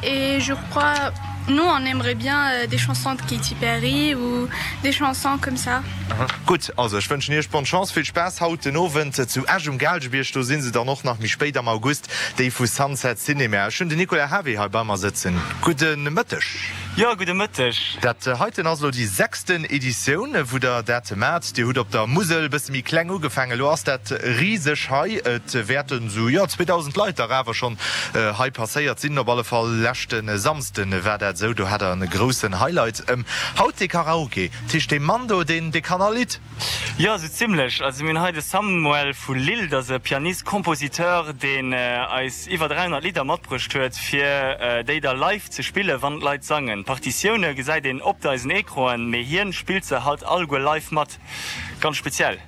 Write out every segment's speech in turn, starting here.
Et je crois nous on aimerait bien des chansons de Katy Perry ou des chansons comme ça. Gutt, also ech wënschen iech bonne Chance, vill Spaass haut den Owend zu Esch um Gaalgebierg. Do si se dann och nach méi spéit am August, déi vu Sunset Cinema. Ech hunn den Nicolas Havé hei bei mer sëtzen. Gudde Mëtteg. Jo, gudde Mëtteg. Dat heiten ass elo déi sechsten Editioun, wou der dat maacht. Dir hutt op der Musel e bësse méi kleng ugefaangen, elo ass dat riseg hei. Et wäerten esou, jo, 2.000 Leit dach awer schonn hei passéiert sinn. Op alle Fall leschte Samsde war dat esou, do hat der e groussen Highlight. Haut dee Karaoke, dat heescht dee Mann do, deen, dee kann all Lidd. Jo, esou zimlech. Also mir hunn hei de Samuel vu Lille, dat ass e Pianist, Compositeur, deen eis iwwer 300 Lidder matbruecht huet, fir déi da live ze spillen, wann d'Leit sangen. D'Partitioune gesäit een op eisen Ecranen, mee hien spillt se halt alleguer live mat. Ganz speziell.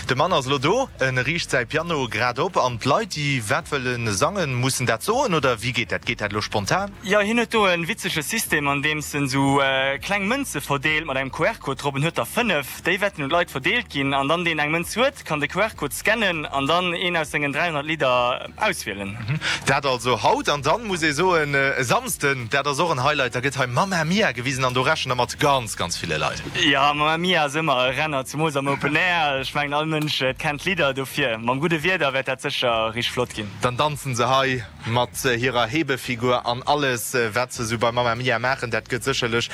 De Mann ass elo do, en riicht säi Piano grad op an d'Leit, déi wat wëlle sangen, mussen dat soen oder wéi geet dat? Geet dat elo spontan? Jo, hien huet do e witzege System, an deems en esou kleng Mënze verdeelt mat engem QR-Code drop. En huet der 5, déi wäerten un d'Leit verdeelt ginn an dann deen eng Mënz huet, kann de QR-Code scannen an dann een aus sengen 300 Lidder auswielen. Dat also haut an dann muss ee soen e Samsden, dat ass och en Highlight, da gëtt hei Mamma Mia gewisen an do rechent der mat ganz, ganz ville Leit. Jo, Mamma Mia ass ëmmer e Renner, zemools am Open Air. Ech mengen all Mënsch kennt d'Lidder, dofir mam gudde Wieder wäert dat sécher richteg flott ginn. Dann danzen se hei mat hirer Hebefigur an alles wat se sou bei Mamma Mia maachen, dat gëtt sécherlech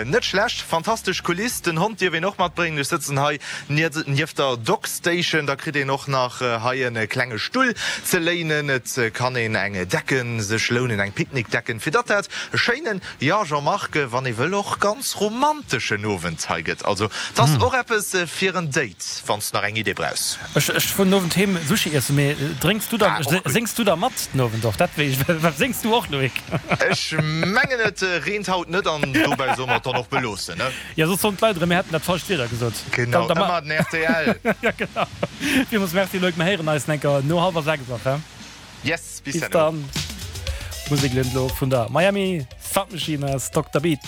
net schlecht. Fantastesch Kuliss, den Hond dierf een och matbréngen. Ech sëtzen hei nieft der Dog Station, da kritt een och nach hei e klenge Stull ze léinen. Et kann een eng Decken sech lounen, eng Picknickdecken, fir datt dat e schéinen, jo Jean-Marc, wann ee wëll och ganz romanteschen Owend hei gëtt. Also 't ass och eppes fir en Date, wann s nach eng Idee brauchs. Ech ech fueren den Owend heem Sushi iessen, mee drénks du dann, séngs du da mat den Owend och? Dat wéi ech, séngs du och Loïc? Ech mengen et reent haut net an dobäi solle mer et dann och beloossen, ne? Jo, soss soen d'Leit erëm mir hätten dat falscht Wieder gesot. Genau, ëmmer den rtl. Jo genau. Villmools Merci Loïc, mer héieren eis enker no hallwer 6 och, he? Yes, bis dann. Musek elo vun der Miami Sound Machine aus Dokter Beat.